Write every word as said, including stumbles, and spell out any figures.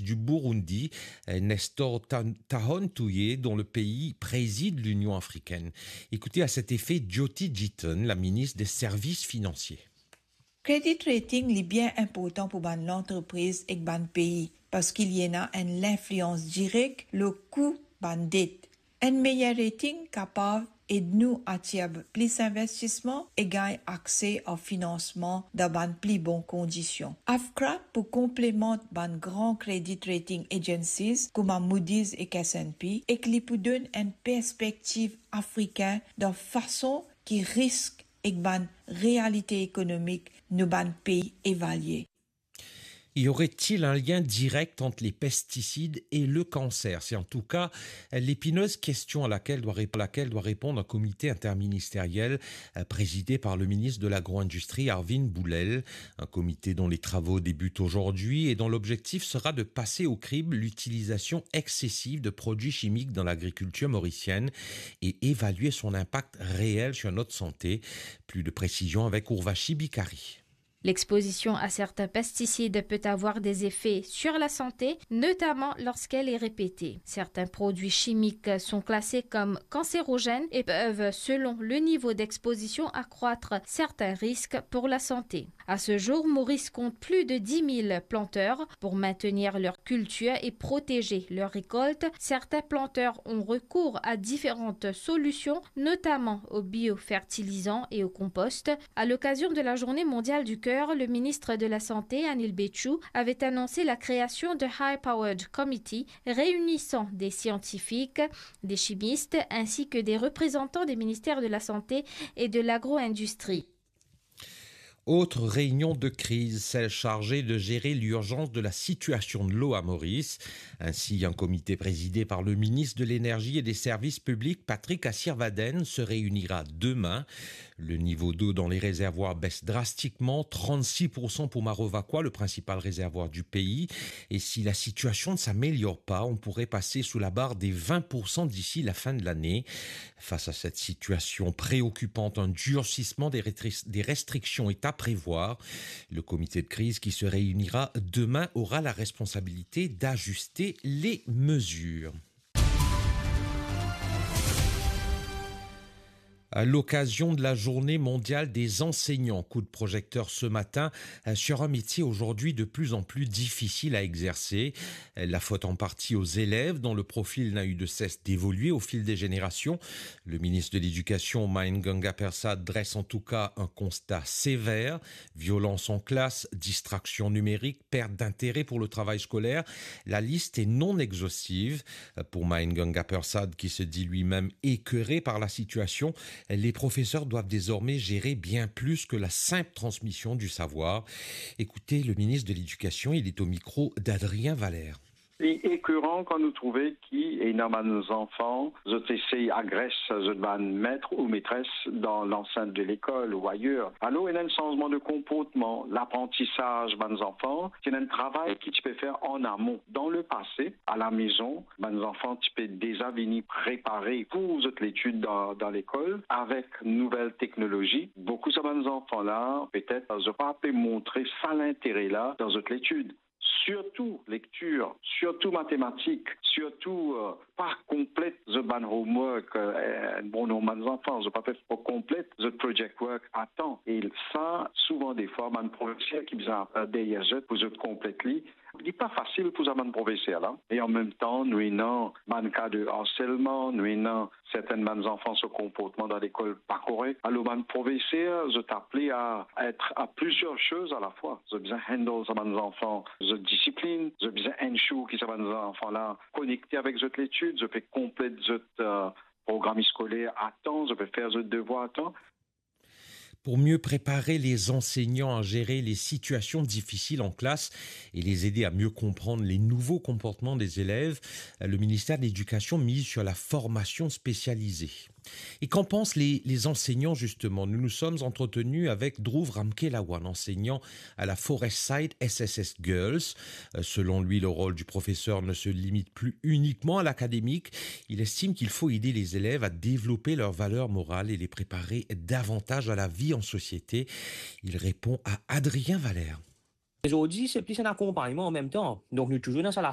du Burundi, euh, Nestor Ta-, Tahon Touye, dont le pays préside l'Union africaine. Écoutez à cet effet Jyoti Jitan, la ministre des Services financiers. Credit rating li bien inportan pou bann lantrepriz ek bann pei, parski li ena enn linflians direk lor kou bann det. Enn meyer rating kapav ed nou atir plis investisman e gagn akse ar finansman dan bann pli bon kondision. AFCRA pou konplemant bann gran credit rating agencies kouma Moody's ek S and P, ek li pou donn enn perspektiv afrikin dan fason ki risk ek bann realite ekonomik nou bann pei evalie. Y aurait-il un lien direct entre les pesticides et le cancer ? C'est en tout cas l'épineuse question à laquelle doit rép-, laquelle doit répondre un comité interministériel, euh, présidé par le ministre de l'Agro-industrie, Arvin Boulel. Un comité dont les travaux débutent aujourd'hui et dont l'objectif sera de passer au crible l'utilisation excessive de produits chimiques dans l'agriculture mauricienne et évaluer son impact réel sur notre santé. Plus de précisions avec Urvashi Bikari. L'exposition à certains pesticides peut avoir des effets sur la santé, notamment lorsqu'elle est répétée. Certains produits chimiques sont classés comme cancérogènes et peuvent, selon le niveau d'exposition, accroître certains risques pour la santé. À ce jour, Maurice compte plus de dix mille planteurs. Pour maintenir leur culture et protéger leur récolte, certains planteurs ont recours à différentes solutions, notamment au biofertilisant et au compost. À l'occasion de la Journée mondiale du cœur, le ministre de la Santé, Anil Bechu, avait annoncé la création de High Powered Committee réunissant des scientifiques, des chimistes ainsi que des représentants des ministères de la Santé et de l'agro-industrie. Autre réunion de crise, celle chargée de gérer l'urgence de la situation de l'eau à Maurice. Ainsi, un comité présidé par le ministre de l'Énergie et des Services publics, Patrick Asirvadene, se réunira demain. Le niveau d'eau dans les réservoirs baisse drastiquement, trente-six pour cent pour Maro Vacoa, le principal réservoir du pays. Et si la situation ne s'améliore pas, on pourrait passer sous la barre des vingt pour cent d'ici la fin de l'année. Face à cette situation préoccupante, un durcissement des rétri-, des restrictions est à prévoir. Le comité de crise qui se réunira demain aura la responsabilité d'ajuster les mesures. À l'occasion de la Journée mondiale des enseignants, coup de projecteur ce matin, euh, sur un métier aujourd'hui de plus en plus difficile à exercer. La faute en partie aux élèves, dont le profil n'a eu de cesse d'évoluer au fil des générations. Le ministre de l'Éducation, Main Ganga Persad, dresse en tout cas un constat sévère. Violence en classe, distraction numérique, perte d'intérêt pour le travail scolaire. La liste est non exhaustive. Pour Main Ganga Persad, qui se dit lui-même écœuré par la situation, les professeurs doivent désormais gérer bien plus que la simple transmission du savoir. Écoutez le ministre de l'Éducation, il est au micro d'Adrien Valère. Li ekoran kan nou trouve ki ena bann zanfan, zot esey agres zot bann met ou metres dan lansint de lekol ou ayer. Alor, ena enn sanzman de konportman, laprantisaz bann zanfan, ti ena enn travay ki ti pe fer an amon. Dan lepase, alamezon, bann zanfan ti pe deza vini prepare pou zot letid dan, dan lekol. Avek nouvel teknolozi, boukou sa bann zanfan la, petet, zot pa pe montre sa lintere la dan zot letid. Sirtou lektir, sirtou matematik, sirtou, euh, pa konplet zot bann homework, euh, bon, non, bann zanfan, zot pa pe konplet zot project work a tan. E sa, souvan defwa, bann profeser ki bizin, euh, deryer zot pou zot konplet li. Li pa fasil pou sa bann profeser la. E an mem tan, nou ena bann ka de harselman, nou ena sertin bann zanfan so konportman dan lekol pa korek. Alor, bann profeser, zot aple a et a plizier soz a la fwa. Zot bizin handle sa bann zanfan, zot disiplin, zot bizin ensure ki sa bann zanfan la konekte avek zot letid, zot pe konplet zot, euh, program skoler a tan, zot pe fer zot devwar a tan. Pour mieux préparer les enseignants à gérer les situations difficiles en classe et les aider à mieux comprendre les nouveaux comportements des élèves, le ministère de l'Éducation mise sur la formation spécialisée. Et qu'en pensent les, les enseignants, justement ? Nous nous sommes entretenus avec Dhruv Ramkalawan, enseignant à la Forest Side S S S Girls. Euh, selon lui, le rôle du professeur ne se limite plus uniquement à l'académique. Il estime qu'il faut aider les élèves à développer leurs valeurs morales et les préparer davantage à la vie en société. Il répond à Adrien Valère. Me zordi, se plis enn akonpagnman an mem tan. Donk, nou touzour dan sa la